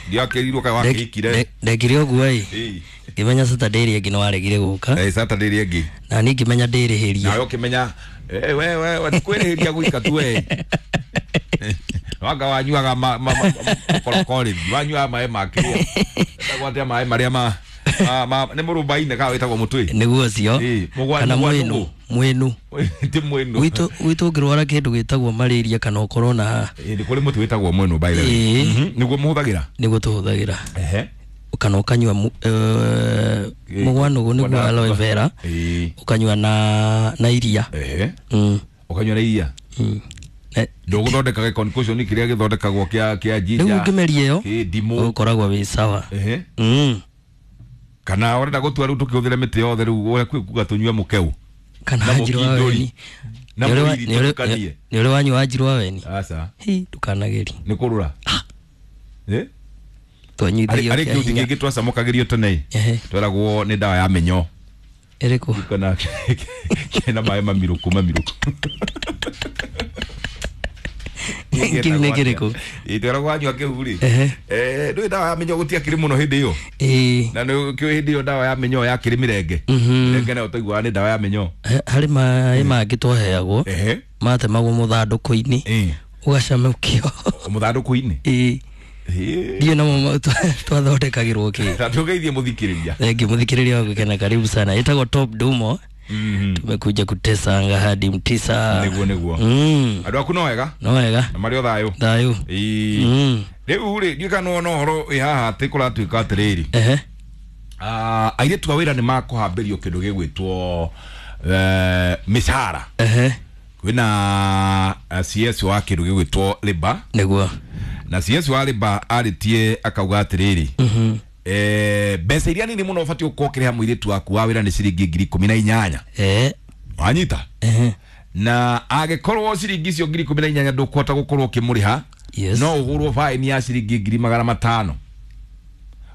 Ndiakĩrirwo kaĩ wakĩhikire. Ndekire ũguo ĩ. Ngĩmenya Saturday ĩrĩa ĩngĩ nĩwaregire gũka. Saturday ĩrĩa ĩngĩ. Na niĩ ngĩmenya ndĩrĩhĩrie. Nawe ũkĩmenya we kwĩrĩhĩria gwika tu we. Wanga wanyuaga makorokori, wanyuaga maĩ ma kĩrĩa. Wetagwo atĩa maĩ marĩa ma nĩ mũrũmba-inĩ kana wĩtagwo mũtwe? Nĩguo ũcio. Kana mwĩnu. Mwĩnu. Ti mwĩnu. Gwitũ ũngĩrwara kĩndũ gĩtagwo malaria kana ũkorwo na nĩ kũrĩ mũtĩ wĩtagwo mwĩnu by the way. Nĩguo mũhũthagĩra? Nĩguo tũhũthagĩra. Kana ũkanyua mũgwanũgũ nĩguo aloe vera. Ũkanyua na iria. Ũkanyua na iria? Ndũgũthondeka gĩ-concoction kĩrĩa gĩthondekagwo kĩa ginger. Rĩu ũngĩmeria ĩyo ndimũ. Ũkoragwo wĩ sawa. Kana ũrenda gũtua rĩu tũkĩhũthĩre mĩtĩ yothe rĩu ũrĩa kwĩ kuga tũnyue mũkeu. Kana njirũ wa weni. Na mũriri tũtukanie. Nĩ ũrĩ wanyua njirũ wa weni? Aca. Hi, ndũkanageri. Nĩ kũrũra? Twanyuithagio Arĩ kĩa kĩhuti hinya. kĩngĩ twacamũkagĩrio tene. Tweragwo nĩ ndawa ya mĩnyoo. Ĩrĩkũ? Kana kena maĩ mamirũkũ mamirũkũ. Kĩu nĩ kĩrĩkũ? Tweragwo wanyua kĩu rĩ. Ndũĩ ndawa ya mĩnyoo gũtiakĩrĩ mũno hĩndĩ ĩyo. Na nĩ kĩũĩ hĩndĩ ĩyo ndawa ya mĩnyoo yakĩrĩ mĩrenge. Mĩrenge nayo twaiguaga nĩ ndawa ya mĩnyoo. Harĩ maĩ mangĩ twaheagwo. Matemagwo mũthandũkũ-inĩ. Ũgacamũkio. Mũthandũkũ-inĩ? Ndiũĩ namo twathondekagĩrwo kĩ. Na tũgeithie mũthikĩrĩria. Thengiũ mũthikĩrĩria wa gũkena, karibu sana. Ĩtagwo Top Dumo. Tumekuja kutesa anga hadi mtisa. Nĩguo nĩguo. Andũ aku no wega? No wega. Na marĩ o thayũ? Thayũ. Rĩu rĩ, ndiũĩ kana nĩwona ũhoro wĩ haha atĩ kũratuĩka atĩrĩrĩ. Airĩtu a wĩra nĩ makũhambĩrio kĩndũ gĩgwĩtwo mĩcara. Kwĩna CS wa kĩndũ gĩgwĩtwo Labour. Nĩguo. Na CS wa Labour arĩtie akauga atĩrĩrĩ. Mbeca iria nini mũno ũbatiĩ gũkorwo ũkĩrĩha mũirĩtu waku wa wĩra nĩ ciringi 18,000. Wanyita? Na angĩkorwo ciringi icio 18,000 ndũkũhota gũkorwo ũkĩmũrĩha, no ũhũrwo faini ya ciringi 500,000.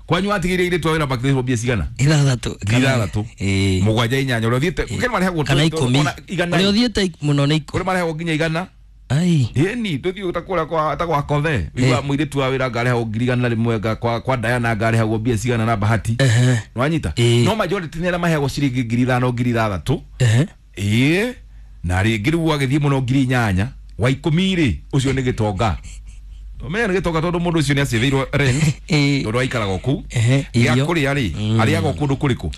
Kwanyu watigĩire airĩtu a wĩra makĩrĩhwo mbia cigana? 6. 6. 7 8 ũrĩa ũthiĩte kũrĩ marĩhagwo Kana 10. Igana. Ũrĩa ũthiĩte mũno nĩ Kũrĩ marĩhagwo nginya 100. Ai. Ĩni tũthiĩ ta kũrĩa kwa ta gwa Kothe. Wĩigua mũirĩtu wa wĩra ngarĩhagwo 100,000 kwa Diana ngarĩhagwo mbia cigana na Bahati. Nĩwanyita? No majority nĩ arĩa maheagwo ciringi 5,000 6,000. Na rĩngĩ rĩu agĩthiĩ mũno 8,000 wa 10 rĩ ũcio nĩ gĩtonga. Ũmenye nĩ gĩtonga tondũ mũndũ ũcio nĩ acĩvĩirwo rent. Tondũ aikaraga o kũu. Gĩa kũrĩa rĩ, arĩaga o kũndũ kũrĩkũ?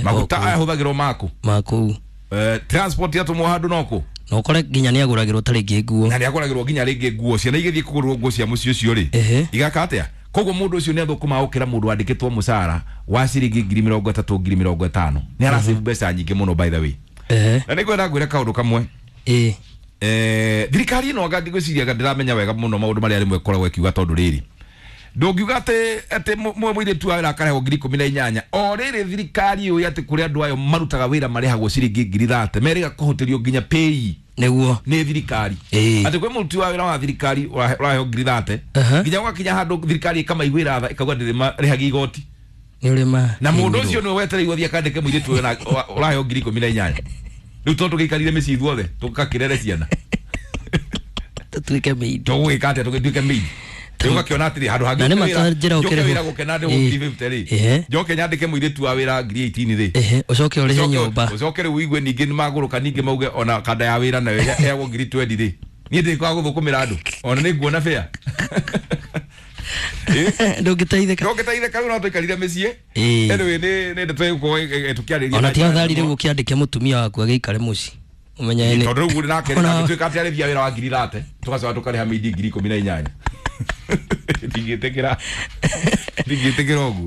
Maguta ahũthagĩrwo maku. Maku. Transport yatũmwo handũ no kũ? Na ũkore nginya nĩ agũragĩrwo ta rĩngĩ nguo. Na nĩ agũragĩrwo nginya rĩngĩ nguo. Ciana igĩthiĩ kũgũrwo nguo cia mũciĩ ũcio rĩ. Igaka atĩa? Koguo mũndũ ũcio nĩ athũkũmaga gũkĩra mũndũ wandĩkĩtwo mũcara wa ciringi 30,000 50,000. Nĩ arasave mbeca nyingĩ mũno by the way. Na nĩ ngwenda ngwĩre kaũndũ kamwe. Thirikari ĩno anga ndigwĩciria anga ndĩramenya wega mũno maũndũ marĩa rĩmwe ĩkoragwo ĩkiuga tondũ rĩrĩ. Ndũngiuga atĩ mũirĩtu wa wĩra akarĩhagwo 18,000. O rĩrĩ thirikari yũĩ atĩ kũrĩ andũ ayo marutaga wĩra marĩhagwo ciringi 30,000. Merĩga kũhũtĩrio nginya pay. Nĩguo. Nĩ thirikari. Atĩ kwĩ mũruti wa wĩra wa thirikari ũraheo 30,000. Nginya gwakinya handũ thirikari ĩkamaiguĩra tha ĩkauga ndĩrĩmarĩhagia igoti. Nĩ ũrĩ ma Na mũndũ ũcio nĩwe wetereirwo athiĩ akandĩke mũirĩtu ũyũ ũraheo 18,000. Rĩu tondũ tũgĩikarire mĩciĩ ithuothe tũgakĩrere ciana. Tũtuĩke maid. Tũgũgĩka atĩa tũgĩtuĩke maid? Rĩu ũgakĩona atĩrĩ handũ hangĩ Na nĩ matanjĩra njoke ũkĩrĩhwo. wĩra gũkena ndĩhwo 50 rĩ. Njoke nyandĩke mũirĩtu wa wĩra 18,000 rĩ. Ũcoke ũrĩhe nyũmba. Ũcoke rĩu ũigue ningĩ nĩ magũrũka ningĩ mauge ona kanda ya wĩra nayo ĩheagwo 20,000 rĩ. Niĩ ndĩkwaga gũthũkũmĩra andũ. Ona nĩ nguona fair. Ndũngĩteithĩka. Ndũngĩteithĩka rĩu no tũikarire mĩciĩ. Anyway, nĩ ndeto ĩgũkorwo tũkĩarĩria Ona na ti njĩra athari nene rĩu mũno. ũkĩandĩke mũtumia waku agĩikare mũciĩ. Ũmenye nĩ Tondũ rĩu nake Ona agĩtuĩka atĩ arĩthia wĩra wa 30,000, tũgacoka tũkarĩha mĩindi 18,000. Ndingĩtĩkĩra. Ndingĩtĩkĩra ũguo.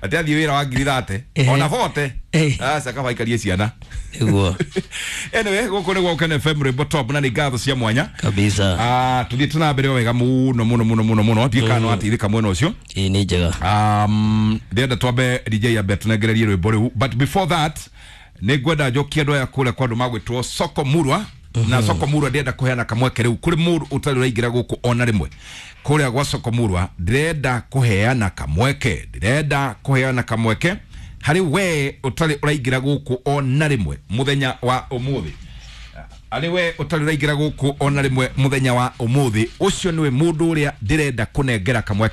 Atĩ athiĩ wĩra wa 30,000, ona 40, aca kaba aikarie ciana. Nĩguo. Anyway, gũkũ nĩ Gũkũ FM Rwĩmbo Top na nĩ ngatho cia mwanya. Kabisa. Tũthiĩ na mbere o wega mũno mũno mũno mũno mũno. Ndiũĩ kana nĩwateithĩka mwena ũcio. Ĩĩ nĩ njega. Ndĩrenda twambe DJ ambe atũnengererie rwĩmbo rĩu. But before that, nĩ ngwenda njokie andũ aya kũrĩa kwa andũ magwĩtwo Soko Murwa. Na Soko Murwa ndĩrenda kũheana kamweke rĩu kũrĩ mũndũ ũtarĩ ũraingĩra gũkũ ona rĩmwe. Kũrĩa gwa Soko Murwa ndĩrenda kũheana kamweke. Ndĩrenda kũheana kamweke harĩ we ũtarĩ ũraingĩra gũkũ ona rĩmwe mũthenya wa ũmũthĩ. Arĩ we ũtarĩ ũraingĩra gũkũ ona rĩmwe mũthenya wa ũmũthĩ, ũcio nĩwe mũndũ ũrĩa ndĩrenda kũnengera kamweke.